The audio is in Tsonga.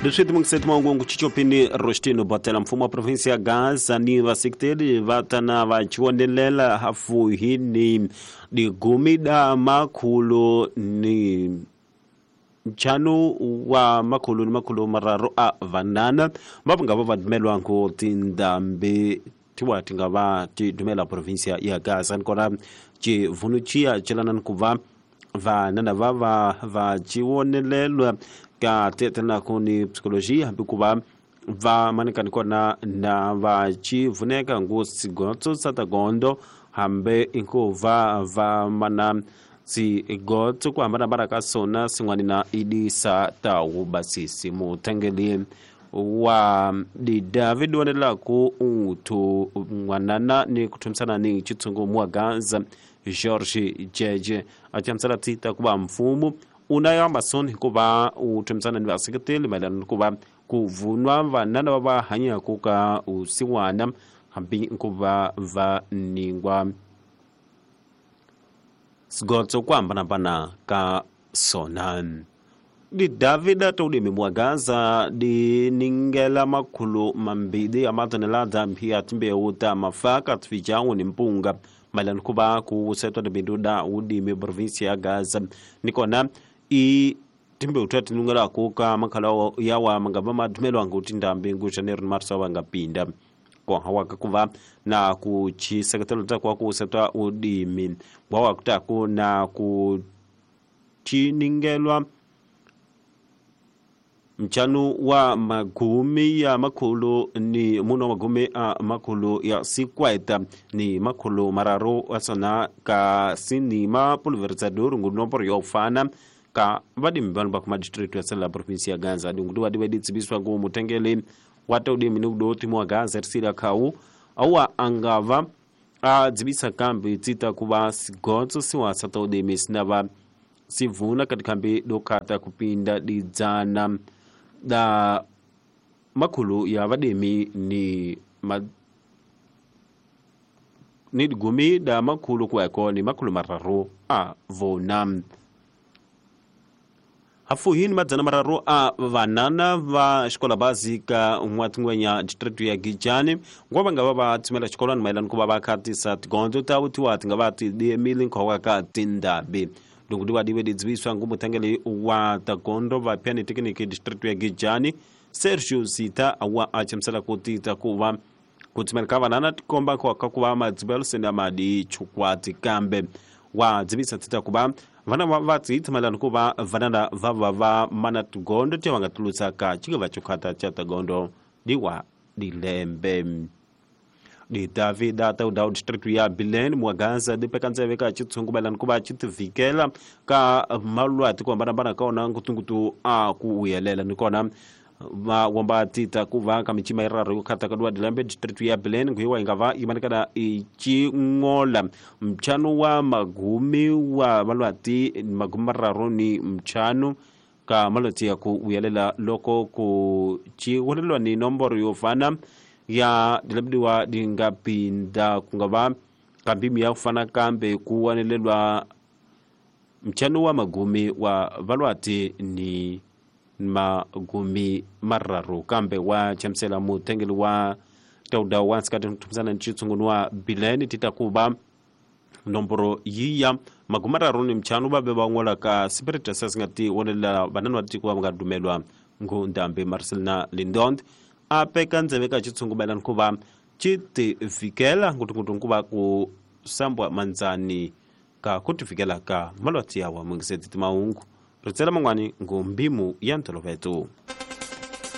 Leswi timungiseti mahungu chichopini Rostino Botela mfumo wa provinsi ya Gaza ni vaseketeli va tana va chiwonelela hafuhi ni digumi da makhulu ni ntlhanu wa makhulu ni makhulu mararu a vanana va nga va va dumelwangu tindhambi tiwa ti nga va ti dumela provinsia ya Gaza nikona chivunu chiya chelana ni ku va vanana va va va chiwonelelwa ka tetenaku ni psikoloji hambi ku va va manikani kona na va chivuneka ngu sigotso sa tagondo hambi ku va va mana sigotso ku hambanahambana ka sona sin'wani na idisa ta wubasisi mutengeli wa didavid wanelaku uthu n'wanana ni ku thumisana ni chitsungu muwa Gaza George Jeje a chamusela tita ku va mfumo una ya masoni hikuva u thumisana ni vaseketeli mayelana ni ku va ku vunwa vanana va va hanyaku ka usiwana hambi ku va va ningwa sigotso ku hambanahambana ka sona. Di Davida toudimi mwa Gaza di ningela makhulu mambili ya matonelada ya timbewu ta mafaka tfijawu ni mpunga mayelana ku va ku setwa tibindu da udimi provinsi ya Gaza nikona i timbewu ta tinungelaku ka makhala yawa mangava madumelwangu tindhambi ngu janeiro ni marso va nga pinda kohawaka ku va na ku chiseketelo ta ku ku setwa udimi wa kutaku na ku chiningelwa mchanu wa magumi ya makhulu ni muno magumi a makhulu ya sikwaita ni makhulu mararu asona ka sinima pulverizador ngunomboro yo fana ka vadimi vanhu va kuma district ya sela province ya Gaza dinguti wadi wedi tsibiswa ku mutengeli wa taudimi ni kudoti mwa Gaza risila khau awa angava a dzibisa kambi tsita kuva sigotso siwasa taudimi sinava sivuna katika dokata kupinda didzana da makhulu ya vademi ni ni digumi da makhulu kuweko ni makhulu mararu a vona hafuhini madzana mararu a vanana va xikola bazi ka n'watingwenya district ya Gijani ngwa va nga va va tshumela xikolwani mayelana ku va va khatisa tigondzo ta vutiwa ti nga va ti diemile nkhowa ka tindhambi loko wa diwe didzibiswa ngu mutengeli wa tagondo va piani tekiniki district ya Gijani Sergio Zita wa achamusela ku tita ku va ku tshumela ka vanana tikomba ku ka ku va madzibelo senda madi chukwati kambe wa dzibisa tita ku va vana va tshitshimela ku va vanana va va va mana tigondo ti va nga tulutsa ka chikava chukhata cha tagondo diwa dilembe di Davida tauda district ya Bilene mwa Gaza di pekantseve ka chitsungu mayelana ku va chitivikela ka malwati ku hambanahambana ka ona ngutungutu a ku uyelela nikona va womba tita ku va ka michima iraro yo khata ka dwa dilembe district ya Bilene nguiwa inga va imanikana ichingola mchano wa magumi wa malwati magumi mararu ni mchano ka malwati ya ku uyelela loko ku chiwolelwa ni nomboro yo fana ya dilembiwa dingapinda kungava kambimi ya kufana kambe kuwanelelwa mchano wa magumi wa valwati ni magumi mararu kambe wa chamsela mutengeli wa tauda wa nsikati mtumisana nchitsungu wa Bileni titakuba nomboro yiya magumi mararu ni mchano babe bangola ka spirit sasingati wonelela banana watikuwa mga ngu ndambe Marcelina Lindond apeka ndzeve ka chitsungu mayelana ku va chitivikela ngutungutu nkuva ku sambwa mandzani ka ku tivikela ka malwati yawa mungiseti timahungu ritsela man'wani ngumbimu ya ntoloveto.